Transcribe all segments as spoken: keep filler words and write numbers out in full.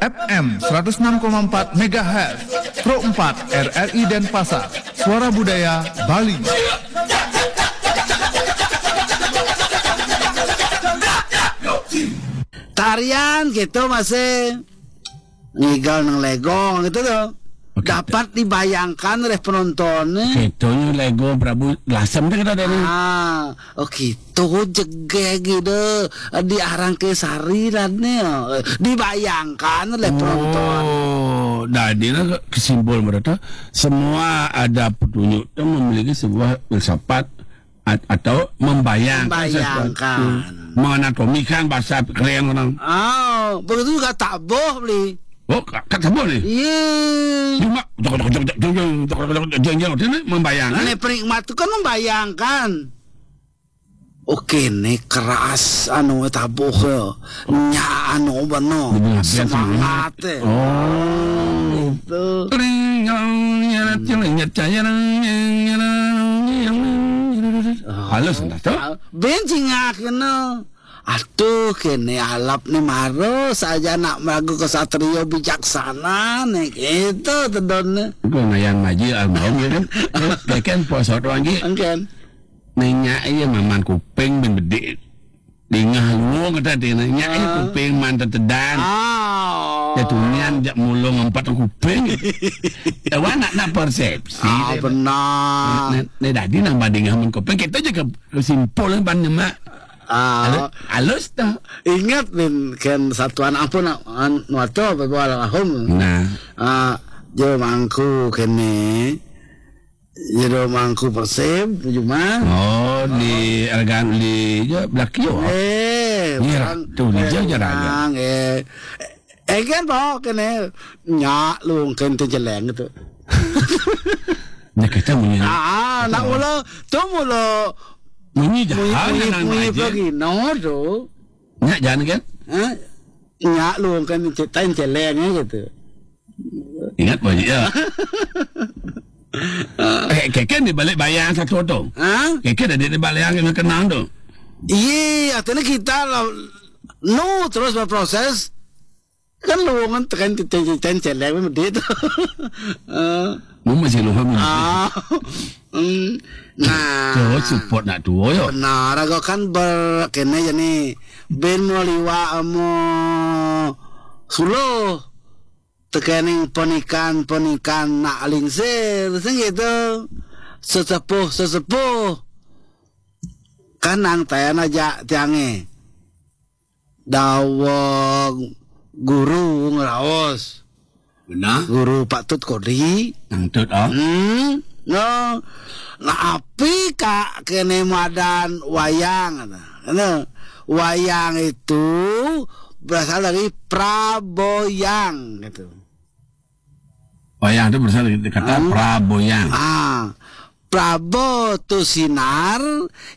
F M seratus enam koma empat megahertz, Pro empat R R I Denpasar, Suara Budaya Bali. Tarian gitu masih ngigal nang legong gitu tuh. Oke. Dapat dibayangkan oleh penontonnya. Gitu, lego Prabu Lasem tuh kita dari. Ah, oh gitu, jegeg gitu. Diarang ke sari dan nih, dibayangkan oleh penonton. Oh, jadi nah, kesimpulan mereka, semua ada petunjuk itu memiliki sebuah filsafat at- atau membayangkan sesuatu. Membayangkan. Menganatomikan bahasa keren orang. Oh, begitu juga taboh beli. Oh, ka- kata boleh. Iya. Cuma jok jok jok jok jok jok jok jok jok jok jok ini membayangkan. Ini penikmat itu kan membayangkan. Oke, nih keras anu tabuh ya. Nya anu bener. Bener, biar semangat. Semangat ya. Oh. Itu. Ring, yang, yang, yang, yang, yang, yang, yang, yang, yang, yang. Halus entah tuh. Ah, ben cingak kena. Aduh, kene alap nih maro saja nak meragu kesatrio bijaksana nih gitu tedonnya. Itu lumayan maju almarhum ya kan. Dia kan poso doang ji. Engken. Nanya iya maman kuping ben bedik. Dingah luwung kata dia nanya iya kuping man tetedan. Oh. Ya tunian jak mulung empat kuping. Ya wan nak nak persepsi. Ah, dia. Benar. Nih, nih, nih, tadi nambah dingah men kuping kita juga kesimpulan ban nyemak. Ah. Halus, halus tuh. Ingat bin kan satuan ampun an nuato bebo almarhum. Nah. Ah, jo mangku kene. Jero mangku persib, Juma. Oh, di Argan di je Blakio. Eh, iya, orang tuh di je je raga. Eh. Eh kan bawa kene nyak lu kan tu jeleng tu. Nya kita munyi. Ah, nak mula tu mula munyi jahat munyi, munyi pagi no tu. Nyak jahat kan? Ha? Nyak lu kan ceritain jeleng gitu. Ingat banyak ya. Eh, keke di balik bayang satu tu. Ha? Keke dah di balik yang kenang tu. Iya, artinya kita lah no terus berproses. Kan lu kan tekan tekan tekan celeng medit. Eh. Mu masih lu hamil. Ah. Hmm. Nah. Tuh support nak tuo yo. Benar, aku kan berkene jadi ben mau liwa amo suluh. Tekening penikan-penikan nak lingsir sing gitu. Sesepuh-sesepuh kan nang tayan aja tiange. Dawa guru ngraos. Benar. Guru patut kodi. Nang tut ah. Hmm. No. Nah, api kak kene madan wayang. Nah, wayang itu berasal dari praboyang gitu. Wayang itu berasal dari kata praboyang. Ah, prabo tu sinar,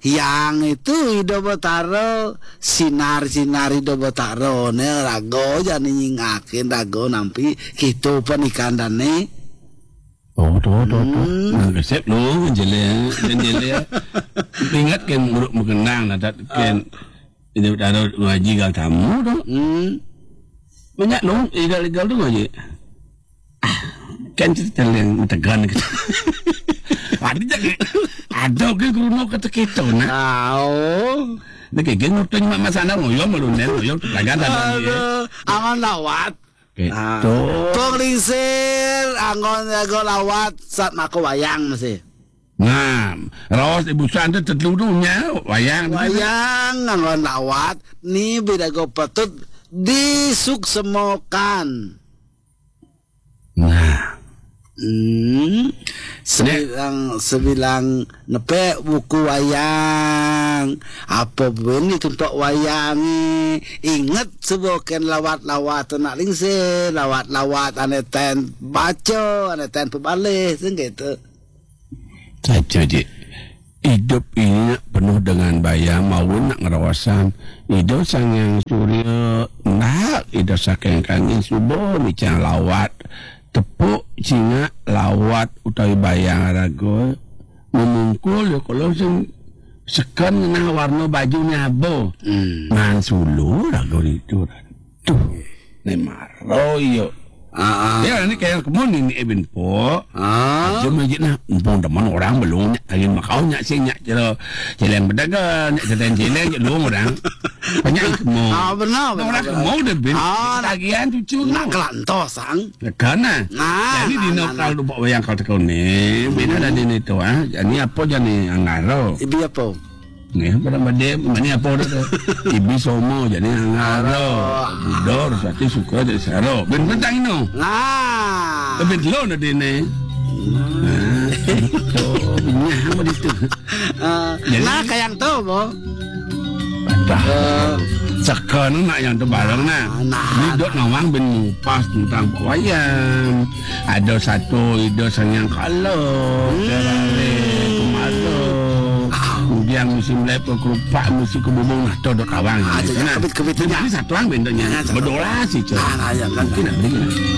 yang itu Ida Betara, sinar-sinar Ida Betara ne raga jani nyingakin raga nampi kitu penikan dane. Oh, tu tu tu. Hmm. Nah, resep lu jele jele. Ingat kan guru mengenang nah dat kan Ida Betara ngaji gal tamu tu. Hmm. Banyak lu igal-igal tu ngaji. Ah, kan cerita yang tegan gitu. Ada jadi ada ke guru no kata kita nah. Tahu. Nak ke geng waktu nyemak masalah ngoyo malu nen ngoyo lagan ada. Aduh, aman lawat. Oke. Ah. Tuh. Kong lingsir anggon jago lawat saat mako wayang masih. Nah, raos ibu santet teteludunya wayang. Wayang anggon lawat ni beda go patut disuksemokan. Nah. Hmm. Sebilang sebilang nepe buku wayang. Apa bini tumpak wayang ni? Ingat sebuah ken lawat-lawat anak lingsir, lawat-lawat ane ten baca, ane ten pebalih, sing gitu. Saja je. Hidup ini nak penuh dengan bayang, maun nak ngerawasan. Hidup sang yang surya, nak hidup saking kangin subuh micang lawat. Tepuk cingak lawat utawi bayang raga. Memungkul ya kalau sing sekan ngenah warna baju nyabo. Hmm. Ngan sulu raga itu. Tuh. Ni maro yo. Ah, ah. Ya, ni kayang kemo ni, ni Eben po. Ah. Cuma je nah, empung teman orang belum nyak, angin makau nyak sing nyak cero, celeng pedagang, nyak ceteng celeng, nyak dua orang. Banyak kemo. Ah, benar, benar, orang benar. Kemo dah bin. Ah, tagihan cucu nak kelantos, sang. Kana. Nah, jadi nah, dino nah, kal nah. Dupok wayang kal tekau ni. Bina dah dini tu, ah. Jadi apa jadi angaro? Ibi apa? Ni, pada made, mani apa dah tu? Ibi somo jadi angaro. Budor, sati suka jadi saro. Bin bentang ino. Nah. Bin lo dah dini. Nah, itu. Nyah apa itu? Ah, jadi nah, kayang tu, bo. Dah. Eh. Saka ni nak yang tu barang nah. Nah. Ni dok nawang bin ngupas tentang wayang. Ada satu ida sangyang kala. Hmm. Terare kemala. Ah. Kemudian musim lepa kerupak, musim kebubung nah tu dok nawang. Ah, jadi kebit-kebit tu. Jadi satu ang bentuknya. Ah, satu. Berdola sih, Cik. Ah, nah, ya, kan. Mungkin nak beri.